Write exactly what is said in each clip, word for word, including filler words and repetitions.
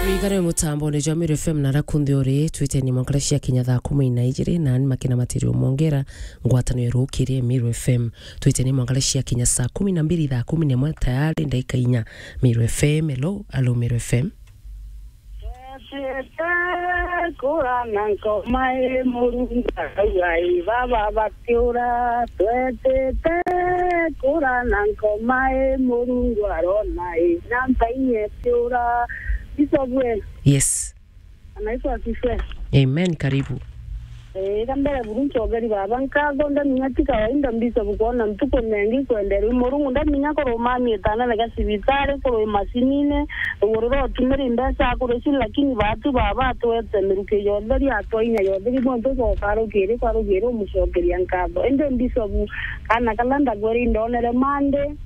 Igare mutambone jwa Meru F M na rakundi uri, twiteni mwankara cia kinya thaa kumi na ijiri, na ni makina matirio mwongera, ngwatano ya rukiri Meru F M. Twiteni mwankara cia kinya saa kumi na mbiri, thaa kumi na imwe tayari, ndaika inya. Meru F M, hello, hello, Meru F M. Twetete kura na nkoma i Murungu arauga i baba bakiura. Twetete kura na nkoma i Murungu arona i na mbainye kiura. Bishop we. Yes. Anaitwa Sife. Amen, karibu. Eh, ka mbere buru ncogeri baba nkatho, ndamenya ti kawaida Bishop kwona ntuku nengi kwenderwa i Murungu, ndamenya kurumamia itanene ga cibitari, kurwi macinine, ruguru rwa utumiri mbeca akuri ci, lakini batu baba atwete miruki yonthe ria atwa inya yonthe, ki muntu ucoka rukiri kwa rukiri umucokeria nkatho. Indi Bishop, kana kala ndagweri ndonere mandi,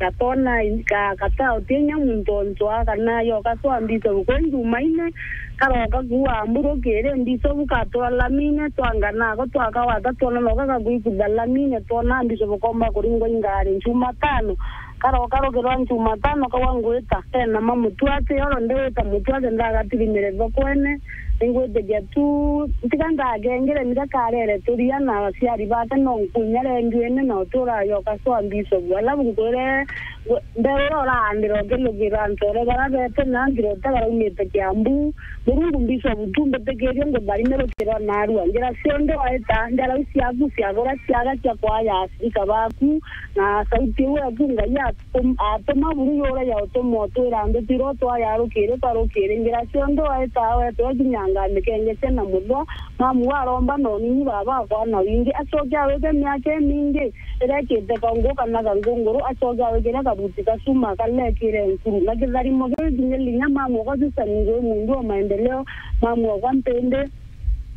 gatona ka-, kata uti inya muntu ontwa, kana yoka twambite bukwe Jumaine, karoka kuua mburu kiri Bishop, katwara lamine, twanga nako twakawata twona noka gagwikutha lamine, twona Bishop komba kuringwa ingari Jumatano, karoka rukirwa Jumatano kawa ngwita, kena ma mutwate, oro ndiwita mutwate ndagatirimire thokwene, ningwitikia tu, ntiga ndagengere mira karere turia na aciari bake no nkunya renduene na utura yoka swa Bishop, alafu nkwire, we, mbere uria uraandira ukilugira ntore bara bete na ngirote baraumite Kiambu. Murungu Bishop tu mbitikirie ngutharimire ukirwa narua. Njira cionthe waita, njara iu ciaku ciagura ciaga cia kwaya acirika baku, na sauti iu eku Ngai atum-, atuma buru yura ya utuma utwira nduti ro twaya rukiri kwa rukiri. Njira cionthe waita wetwe kinyanga mikenge cia na muthwa, mamu waromba na unini baba akwa na wingi, acoke awike miaka imingi, irekite kaungu kana kangunguru, acoke awikire kabuti ka cuma kalekire nkuru. Na kitharimo kiu kinya linya mamu okwa Susan ngui mundu wa maendeleo, mamu okwa mpindi,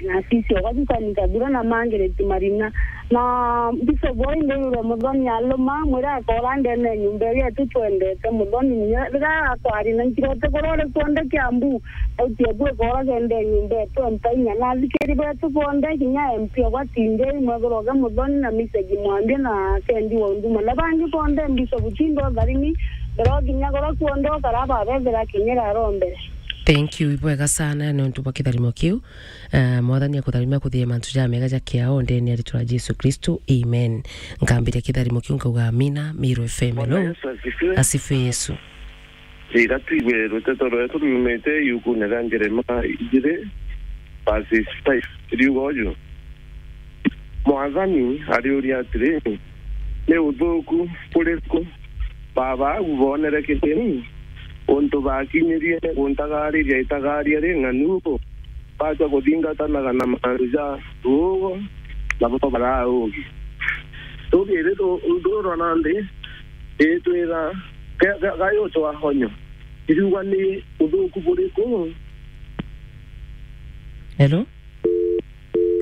na sisi okwa Susan kabura na mangiriti marina. Na Bishop oi ndirure muthoni aluma, mwire akora ndene nyumba iria tu twendete muthoni, riria akwari na nkirote kurore kuonde Kiambu, sauti eku ikora kende nyumba etu mpainya. Na athikiri betu bonthe, kinya M P okwa Tindei, mwekuru oke muthoni na Misegi Mwambia na Kendi wa Unduma. Na bangi bonthe, Bishop Tindo Tharimi, mbere kinya kuria kuonde ukara babethera kinyira arombere. Thank you, ibwega sana nontu bwa kitharimo kiu. Eh, Mwathani akutharimia kuthithia mantu jamega ja kiao ndene ya ritwa ria Jesu Kristo. Amen. Nkambiria kitharimo kiu nkauga amina, Meru F M, Bwana hello. Yesu asifiwe. Asifiwe Yesu. Riria twigwe ruteto rwetu riumite iukune ria Jeremia ijiri, verses five, riuga uju, Mwathani ariuria atiri, ni uthuku buriku baba au boonere kithini, untu bakinyirie guntagariria itagaria ring'anu, bachwa kuthingatanaga na mantu ja ruugo, nabo baraugi. Rugiri ru-, rurwa nandi, itwira, ga-, ga-, gayutwa honyo. Iriuga ni uthuku buriku? Hello?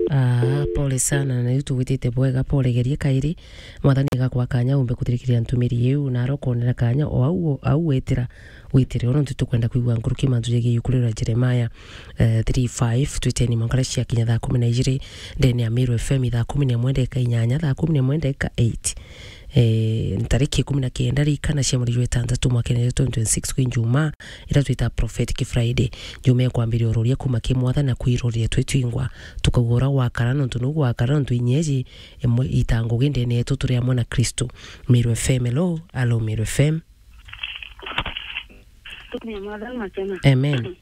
Ah, pole sana, na riu tugwitite bwega, pole gerie kairi. Mwathani agakwa kanya umbe kuthirikiria ntumiri iu, na arokonera kanya o au, au wetira witire. Ono ntu tukwenda kwigua nkuruki mantu jegie iuku riu ria Jeremia, eh, three five, twiteni mwankara cia kinya thaa kumi na ijiri, ndene ya Meru F M thaa kumi na imwe ndeka inyanya, thaa kumi na imwe ndeka eight. Eh, ntariki ikumi na kenda ria ikana cia mweri jwa itantatu mwakene jwa twenty twenty-six kwi Njumaa, ira twita Prophetic Friday. Njumaa ikwambiria uroria kuma ki Mwathani na kwiroria twi twingwa. Tukauga uria gwakara nontu nu gwakara nontu inyeji imwe ita ngugi ndene yetu turi amwe na Kristo. Meru F M, hello, hello, Meru F M. Tukumia Mwathani makena. Amen.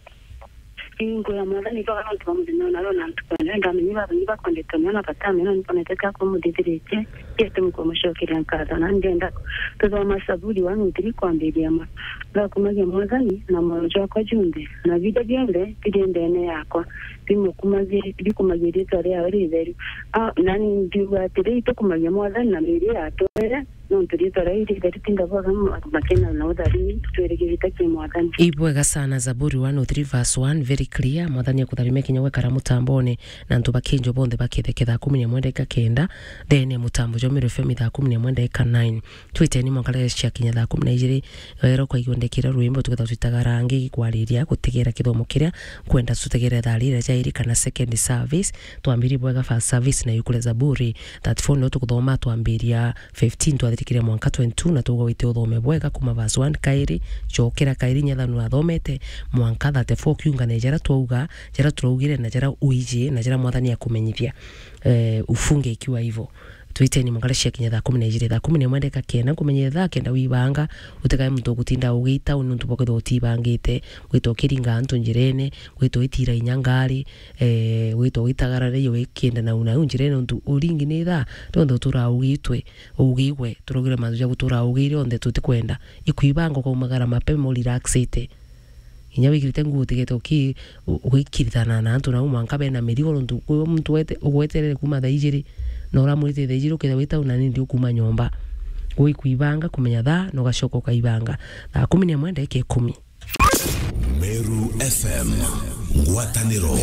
Ingo ya Mwathani ibaga nontu bwa muthenya ona ro na ntuku ene, ndamenye baba ni bakwendete mono na batamenya ni bonete ka kumuthithiritie, kiete mukumucokeria nkatho, na ndenda tuthoma Saburi one oh three kwambiria ma. Ngakumagia Mwathani na moyo jwakwa junthe, na biria bionthe biri ndene yakwa, bimukumagie-, bikumagie riitwa riawe ritheru. Ah, nani ndiuga atiri, itukumagia Mwathani na miiri yatwere, nontu riitwa riawe ritheri tinda bwaga ma-, makena na utharimi, twirigirite ki Mwathani. Ibwega sana, Zaburi one oh three verse one, very clear. Mwathani akutharimia kinya gwekara mutambone, na antu bakinjo bonthe baketheke thaa kumi na imwe ndeka kenda, ndene mutambo jwa Meru F M thaa kumi na imwe ndeka nine. Twiteni mwankara cia kinya thaa kumi na ijiri, wero kwaigua ndekira rwimbo tukethwa twitaga rangi kwariria gutegera kithomo kiria nkwenda tutegere thaa rira jairi kana second service. Twambiri bwega first service na yukule Zaburi thirty-four no tukuthoma twambiria fifteen twa Tikire mwanka twenty-two, na twauga wite uthome bwega kuma verse one kairi, cokera kairi, nyetha nu athomete mwanka thirty-four, kiungane jara twauga, jara turaugire, na jara uiji, na jara Mwathani akumenyithia. Eh, ufunge ikiwa hivyo. Twiteni mwanka cia kinya thaa kumi na ijiri, thaa kumi na imwe ndeka kenda, nkumenye thaa kenda wibanga, utikae muntu ugutinda ugita, nuntu bwa kwithirwa utibangite, gwitwa ukiringa antu njirene, gwitwa witira inya ngari, eh, gwitwa witagarara iyo wikienda nau nau njirene, nuntu uringi ni thaa, tonthe utura ugitwe, ugigwe, turaugire mantu ja gutura ugire onthe tutikwenda. Ikwibanga ukaumagara mapema urelaxite. Inya wikirite nguo utigete uki-, u-, ugikiritana na antu nau mwanka bena mirigo, nuntu kwi muntu wete-, ugweterere kuma thaa ijiri, na uramwirite thaa ijiri ukethira wi tauni na nindi ukuma nyomba. Gwe ikwibanga kumenya thaa, na ugacoka ukaibanga. Thaa kumi na imwe ndagika ikumi. Meru F M, ngwataniro